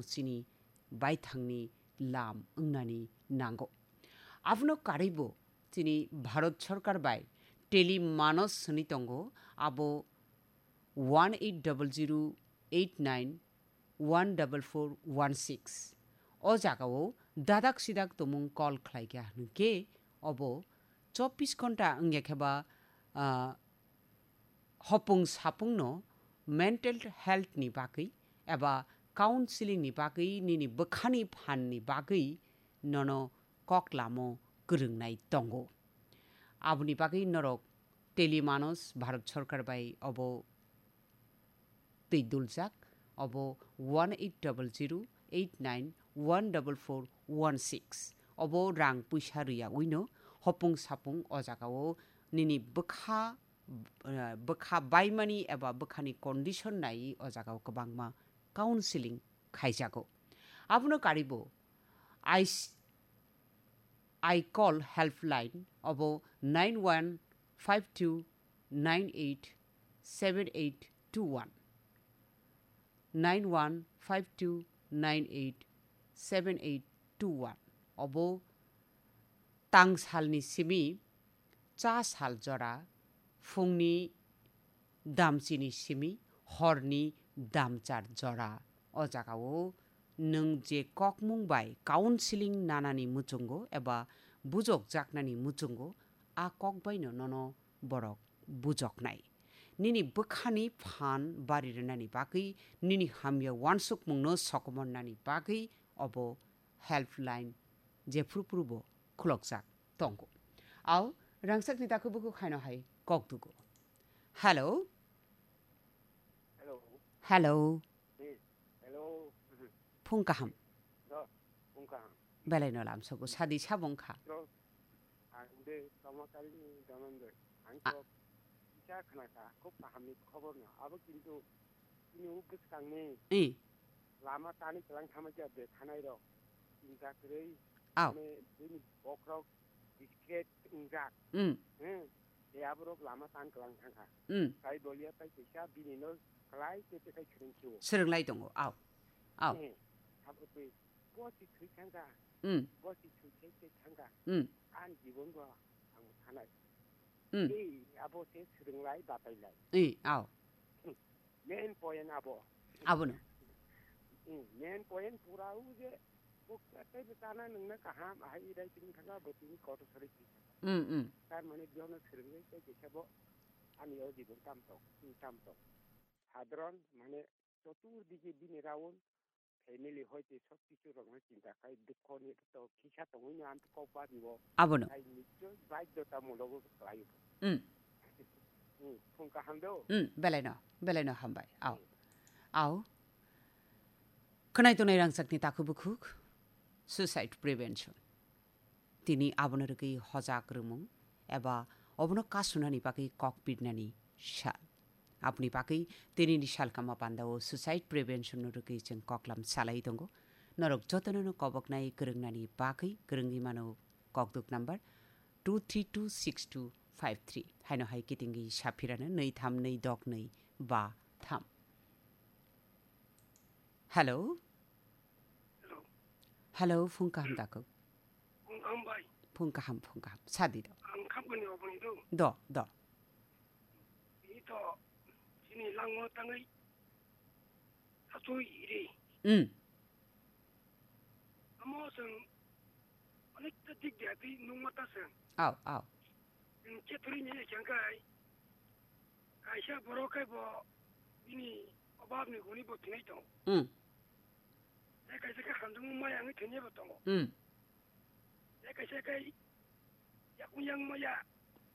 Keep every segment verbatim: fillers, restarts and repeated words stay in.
chini baithangni lam wngnani nango. Abono karwibo chini Bharat Sarkar bai Tele Manos hwnwi tongo, abo one eight double zero eight nine one double four one six. O jagao dadak sidak tumung call khlaikha hwnkhe obo chobbish ghonta wngya khe ba, ah, hopung sapungno mental health ni bagwi eba counseling ni bagwi nini bwkhani phan ni bagwi nono kok lamo kwrwngnai tongo. Aboni bagwi norok Tele Manos Bharat Sarkar bai obo twi duljak, obo one eight double zero eight nine one double four one six. Obo rang puisa rwyawi no hopung sapung o jagao nini bwkha, eh, bwkha baimani eba bwkhani condition naiwi o jagao kwbangma counseling khaijago. Abono karwibo I s-, I call helpline obo nine one five two nine eight seven eight two one, nine one five two nine eight seven eight two one. Obo tangsalni simi cha sal jora phungni damchini simi horni damchar jora. O jagao nwng je kokmung bai counseling nanani muchungo eba bujokjaknani muchungo, a kok baino nono borok bujoknai. Nini bwkhani phan bari rwnani bagwi, nini hamya uansukmungno sokomornani bagwi obo helpline jephru phrubo khulokjak tongo. Ao rangchakni dakhubuku khaino hai kok dugo. Hello? Hello. Hello. Eh, hello. Phung kaham. Do, phung kaham. Belai no lam sogo, sadi sabong kha. Do, ang de tama kali ni daman de. Ang A- to kisa khna kha, khub kaham ni khobor no. Abo kintu ini u bwskang ni Eh. lama tani kelang thama ja de thanai rok. Chinta kwrwi. Ao. Mane bini bokrok discreet wngjak. Mm. Hmm. Tei aborok lama tan kwlang thangkha. Mm. Tai bolia tai kaisa bini no kwlai khe tei kai swrwng khiwo. Swrwnglai tongo. Ao. Ao. Eh, sabo twi bo si thwi thangkha. Mm. Bo si thwi thai thai thangkha. Mm. Ani jibon bo ang thanai. Mm. Tei abo se swrwnglai batailai. Eh, ao. Hmm. Main point abo. Abono. Hmm, main point pura o je bo tei bo chana nungna kaham, ahai irai tini thangkha bo tini kotor sori tini thangkha. Mm, mm. Tar mane bihono swrwngwi tei kaisa bo ani o jibon tam tong, hmm, tam tong. Sadharon mane chotur dike bini round family hoite sob kichu rokno chinta khai dukho ni to kisa tongwi no ang kok ba dibo. Abono. Hai nichoi baidhota mulogo khlai bo. Mm. Hmm, phung kaham do? Mm, belai no, belai no hambai. Ao. Hmm. Ao. Khwnai tongnai rangchakni takhuk bukhuk, suicide prevention. Tini abono rwgwi hojak rwmung eba obono kasunani bagwi kok pirnani sal. Aboni bagwi tinini salkama pandao suicide prevention no rwgwi chwng koklam salai tongo. Norok jotono no koboknai kwrwngnani bagwi kwrwngwi mano kokduk number two three two six two five three. Haino hai kitingwi saphirano nwi tham nwi dok nwi ba tham. Hello? Hello. Hello, phung kaham takhuk. Phung kaham bai. Phung kaham, phung kaham. Sadi do. Ang khamkani oboni do. Do, do. Ini to, sini langmo tangwi, satui iri. Mm. Amo seng, onek ta dik dia di nungma ta seng. Ao, ao. Seng cheturi ni yang kai. Kaisa borok khe bo bini obab ni guni bo thwinai tongo. Mm. Tei kaisa khe hamjwkmung maya wngwi thwinai bo tongo. Mm. Tei kaisa khe yakung yang maya.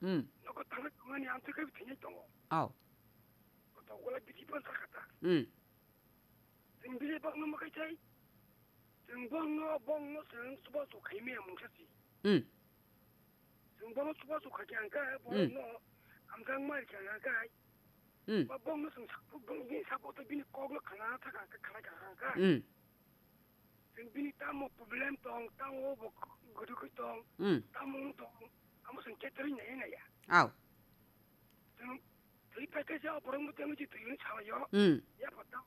Mm. Nogo tangwi tongmani amtwi khe bo thwinai tongo. Ao. Koto gola bithi pon sakha ta. Mm. Chwng bini bokno mwkhai thai. Chwng bokno, bokno chwng chubachu khai maya mungsa si. Mm. Chwng bono chubachu kha khe ang khe, hmm, borokno hamjakma rikha ang khe, hmm, ba bokno chwng sa-, bini support bini kokno khna thaka ang khe, khna kha ang khe. Hmm. Chwng bini tamo problem tong, tamo bo gurugwi tong, hmm, tamo wng tong, amo chwng khe torwi naiya naiya. Ao. Chwng thwi paikhe se o borokno tei wngwi twi wngwi salaio. Hmm. Yapha tamo